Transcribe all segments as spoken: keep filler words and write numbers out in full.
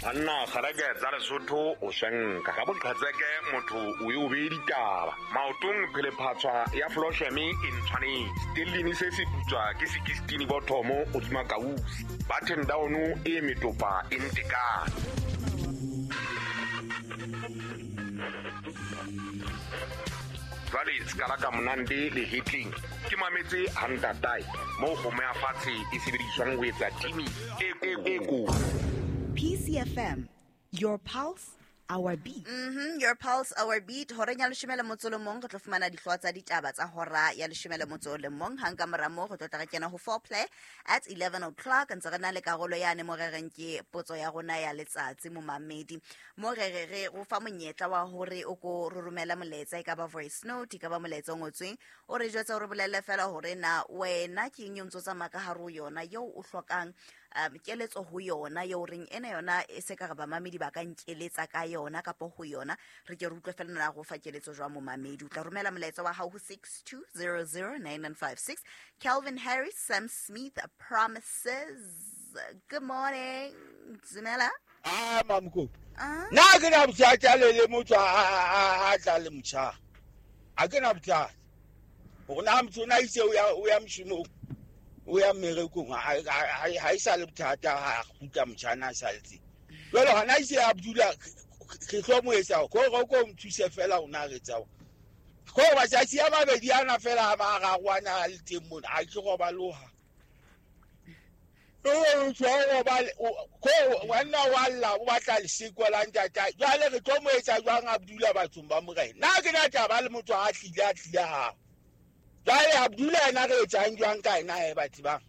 Banna kgareke tsa Lesotho o swenka ka boqhetseke motho o e o bee ditaba maotong phelephatshwa ya flosheme e ntshwanetse stellini se se putswa ke sekistini bothomo hodima kausi button down e metopa e ntekane. Jwale sekala ka monande le hitling ke mametse hantatae moo kgomo ya fatshe e sebediswang ho etsa timi e ko. P C F M, your pulse, our beat. Mm-hmm, your pulse, our beat. Horeng ya leshome le motso le mong re tlo fumana dihlooho tsa ditaba tsa hora ya leshome le motso le mong. Hang ka mora moo re tlo tla re kena ho foreplay at eleven o'clock. Ntse re na le karolo yane mo re reng ke potso ya rona ya letsatsi momamedi. Mo re re re o fa monyetla wa hore o ko re romela molaetsa, e ka ba voice note, e ka ba molaetsa o ngotsweng, o re jwetsa o re bolelle fela hore na wena ke eng eo ntso tsamaya ka hare ho yona eo o hlokang um keletso ho yona, eo reng ena yona e se ka re bamamedi ba ka nkeletsa ka yona kapa ho yona. Re ke re utlwe fela na go fa keletso jwa momamedi. O tla romela molaetsa wa hao ho six two zero zero nine nine five six. Calvin Harris, Sam Smith, Promises. Good morning. Dumela. Ah, mamko. Na ke na bothata le le motho a a tla le motjha. A ke na bothata. Hore na motho na itse o ya o ya moshomong, o ya mmerekong, ha e sa le bothata ha kgutla motjhana a saletse. Jwale hona itse a dula ke tlo mo etsa ko go ko mthuse fela o na re tsa. Ko ba tsatsi a mabedi ana fela a mararo ana le teng mona a ke robaloha. O tshwa ba ko wena wa lla o batla leseko la ntata. Jwale re tlo mo etsa jwang Abdullah bathong ba morena. Nna ke na taba le motho a tlile a tlile ha. Jwale Abdullah ena re etsang jwang ka ena e batho ba.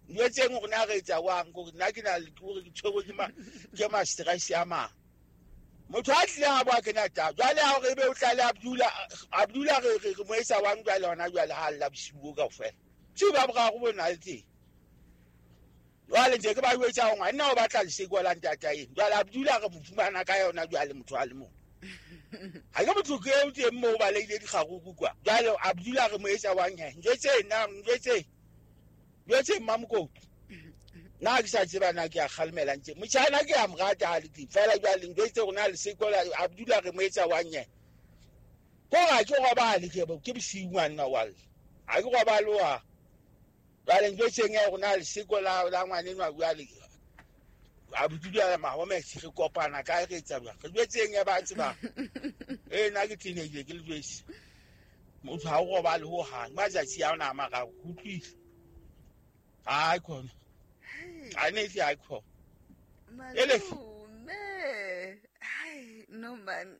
Njwetseng hore na re etsa jwang hore nna ke na le hore ke tshwerwe ke ma ke ma stress ya ma. Motho a tlile ha ba ke na taba. Jwale ha re be o tla le Abdullah, Abdullah re re mo etsa jwang jwale hona jwale ha lla bosiu kaofela. Tse ba boraro bona le teng. Jwale ntse ke ba jwetsa hore ngwana o batla leseko la ntata eng. Jwale Abdullah re mo fumana ka yona jwale motho a le mong. Ha ke motho ke o teng moo ba leile dikgaruku kwa. Jwale Abdullah re mo etsa jwang he? Njwetse nna njwetse. Njwetse Mamkopi. Nna ke sa tseba na ke a kgalemela ntse. Motjhana ke a mo rata ha le teng. Fela jwale njwetse rona leseko la Abdullah re mo etsa jwang he? Ko ga ke robale ke ke bosiu ngwana wa lla. Ha ke robale wa. Jwale njwetseng ya rona leseko la la ngwanenwa jwale. Abdullah Mahomet re kopana ka re etsa jwang? Re jwetseng ya batho ba. Eh nna ke teenager ke le jwetse. Motho ha o robale ho hang. Matsatsi a ona a mararo utlwile. Hayi khona. Anethi hayi khona. Malume. Hayi no man.